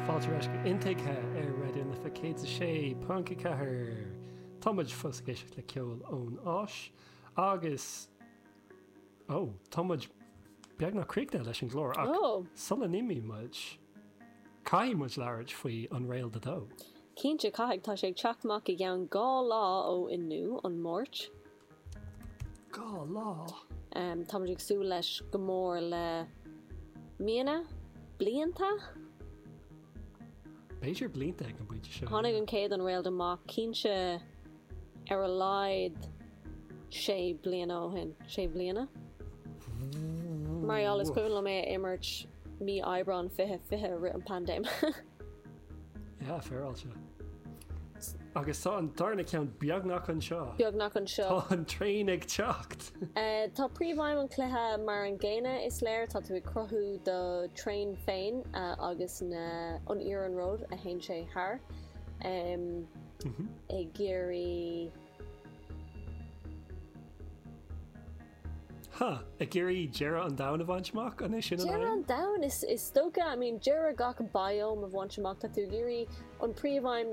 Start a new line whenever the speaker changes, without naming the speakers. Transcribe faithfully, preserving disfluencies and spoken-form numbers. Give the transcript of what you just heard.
Fáilte ar ais go Intuigthe ar Raidió na Life céad a sé ponc a ceathair. Tá muid fós ag éisteacht le ceol ón Áis agus ó tá muid beagnach críochnaithe leis an gclár ach
Oh.
sula n-imíonn muid caithfidh muid labhairt faoi Unrailed a dó.
Cinnte caithfidh tá sé ag teacht amach i gceann dhá lá ó inniu an Máirt.
Dhá lá.
Um, tá muid ag súil leis go mór le míonna, blianta?
B'fhéidir blianta ag an bpointe seo.
Tháinig an chéad Unrailed amach cinnte ar a laghad sé bliana ó shin sé bliana. Mar is cuimhin liom é a imirt mí Aibreán fiche fiche rith an paindéim.
Yeah, féaráilte. Agus tá an darna ceann beagnach anseo.
Beagnach anseo.
Tá an traein ag teacht.
Uh, tá príomhaidhm an chluiche mar an gcéanna is léir tá tú ag cruthú do traein féin uh, agus na an iarnród a théann sé thar. Um, ag iarraidh
Ha, ag iarraidh deireadh an domhain a bhaint amach an é sin an
Deireadh
aidhm?
an domhain is is dócha I mean deireadh gach biome a bhaint amach tá tú ag iarraidh an príomhaidhm